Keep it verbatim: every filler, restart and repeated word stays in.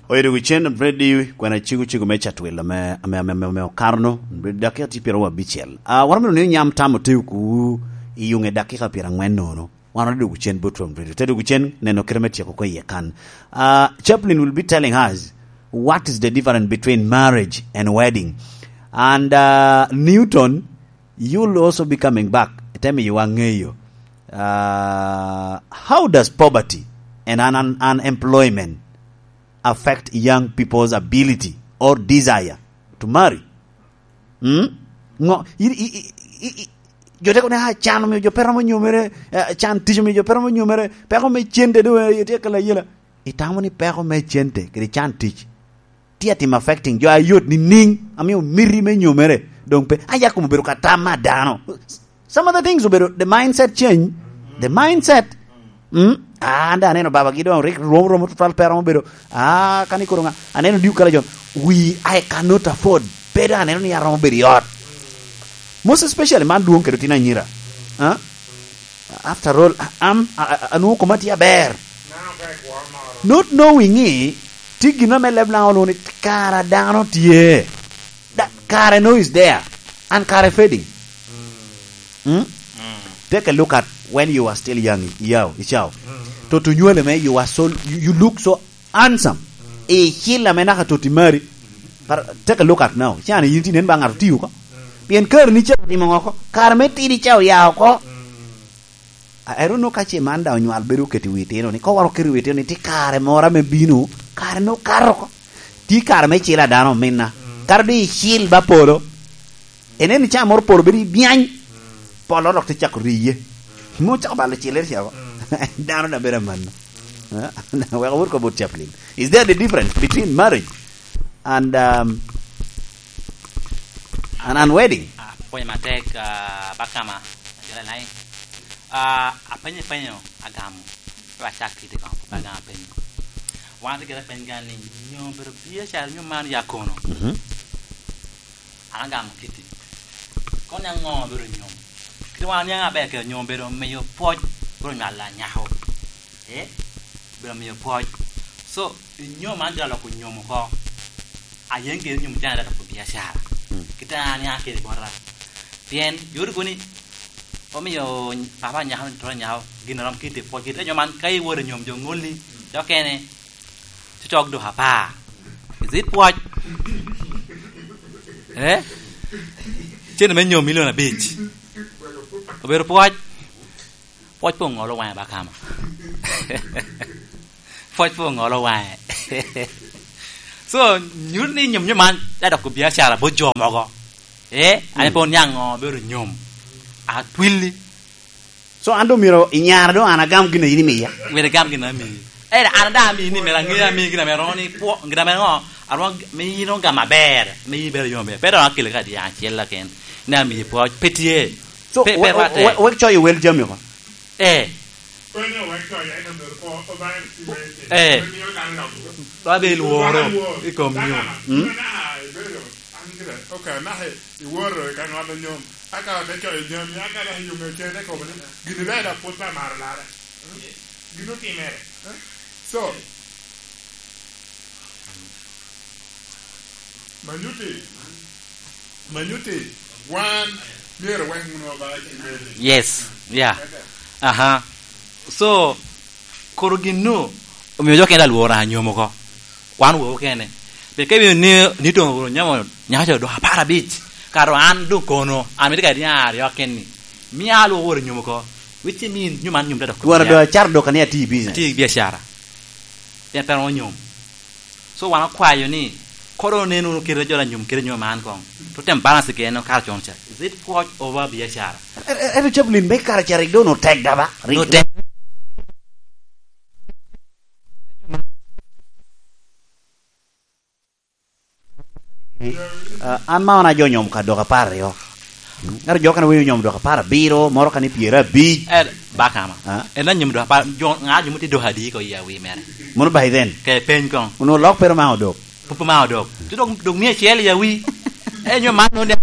Oyedo wi cen, Brady, kwena cego cego me catwil ame, ame, ame, ame, ame okano, Brady, dakika tye pyeraryo abicel. Ah, wan omito ni onyam tam oteo kuwu i yuŋe dakika pyerangwen nono. Wan odwogo cen bot Tom Brady. Te dwogo cen, neno kite me tyeko oko iye kan. Ah, Chaplin will be telling us what is the difference between marriage and wedding. And, ah, Newton, you'll also be coming back. Ite miyowa ŋeyo. Ah, how does poverty and un-, un-, unemployment affect young people's ability or desire to marry? Mm? Ŋo, i, i, i, i, i, jo te kono ni, "Ah, can omio jo pe romo nyomere, eh, can tic omio jo pe romo nyomere, peko me cente doŋ, eh, tye kela yela." Itamo ni peko me cente kede can tic tye atimo affecting jo a yot nining, amio miti me nyomere doŋ pe, aya kom obedo ka tam a dano. Some of the things obedo the mindset change, the mindset. Mm? Ah, an daŋ aneno babagi doŋ rik rwom rwom tutwal pe romo bedo. Ah, kani koro ŋa, aneno diu kala jon. We, I cannot afford. Pe daŋ aneno ni aromo bedo i ot. Most especially man dwoŋ kede otino anyira. Ah? After all, am, a, a, anwoŋo koma tye aber. Not knowing ni, tye gin ame leb Laŋo olwoŋo ni kara dano tye. Da, kara no is there. And kara fading. Hmm? Take a look at when you are still young, yow, icaw. To, to nywale me, you are so, you, you look so handsome. Icil ame naka toti mari. But take a look at now. Can yin tye nen ba ŋat otiyo oko. Pien kare ni ca otimo ŋo oko? Kare me tidi ca oya oko. I, I don't know ka ce man daŋ onywal bedo oketo i wi itino ni, ka waro keto i wi itino ni, tye kare moro ame bino, kare no kato oko. Tye kare me cil a dano ominna. Kato di icil ba polo. Inen ni ca moro polo bedo i byany. Polo dok te cako riye. Mo cako balo cilere cako. Dano na bedo amanno. Wek awot ko bot Chaplin. Is there the difference between marriage and, um, and, and wedding? Ah, pwony matek, ah, bakama. Ajala nai. Ah, apenyo, penyo, agamo. Pe acak kiti kong, pe agamo apenyo. Wan ate gire peny gan ni, nyo bedo biacara, nyo man ya kono? Mhm. An agamo kiti. Kono niaŋ ŋo bedo nyom? Kit wan niaŋ aber kede nyom bedo miyo pwoc, bedo nywalo anyako. Eh? Bedo miyo pwoc. So, nyom man gira loko nyom oko. Ayen kede nyom can ada loko biacara. Mm. Kit an niaŋ kede bota. Pien, yot kono ni, omiyo papa anyako ni toro anyako, gin a rom kiti pwoc kiti. Enyo man, ka iwoto i nyom jo ŋolli, jo kene, Cocok dok apar. Is it pwoc? Eh? Cene me nyom milion abic. Obedo pwoc? Pwoc pe oŋolo waŋe ba kama. Pwoc pe oŋolo waŋe. So, nyuto ni nyom, nyom man, te doko biacara bot jo mogo. Eh? An pe oniaŋ ŋo, bedo nyom. Atwilli. So, an doŋ myero inyara doŋ an agam gin a yin imiya. Myero igam gin a amii. Ero an daŋ amii ni myero aŋe amii gin ame romo ni kwo, gin ame ŋo, aromo g-, me yin ogam aber, me yin ibedo yom aber. Pe doŋ akele ka dyang acel keken, ni amii pwoc, pe tye. So, pe, pe we-, rwatte. We-, wek coyo wel jami oko. Eh. Konyo wek coyo, ento myero ko Obaŋa esti me tye. Eh. Me miyo dano dok. Ba be lworo i kom nyom. Mm. An gire, ok, anaka iwoto i ka ŋolo nyom, aka ote coyo jami, aka dok iyumo cene kobo ni, gini ber dok pwod pe amaro larre. Gin otimere. So, manyuti, manyuti, wan myero wek wunu oba i meli. Yes, yeah. Aha. So, koro gin-nu omio jo kene alwora anyom oko. Wan owowo kene. Pien ka ibino ni, ni doŋ oworo nyamo nyaka co dok apar abic, kato an doŋ kono, an mito ka niaŋ aryo keni. Mia alwoko woro nyom oko. Which mean, nyom an nyom te dok. Twara doŋ acar dok ania tye i business. Tye i biacara. Pien pe romo nyom. So wan okwayo ni, koro onen wunu kite jo anyom kede nyom man koŋ. To tem balance kene okato con ca. Is it pwoc over biacara? E-, e-, ento Chaplin me kare ca rik doŋ otek da ba? Rik doŋ tek. Ah, an ma wan ajo nyom ka dok apar aryo. Ento jo kene winyo nyom dok apar abiro, moro kani pyerabic. Eh, bakama. Ah? En anyom dok apar, jo, ŋa jo mutye dok adi ko i awi mere? Mono by then? Ke peny koŋ. Onwoŋo lok pero ma odok. Pupu ma odok. Ti dok, dok mia acel i awi. Eh, nyo man nonde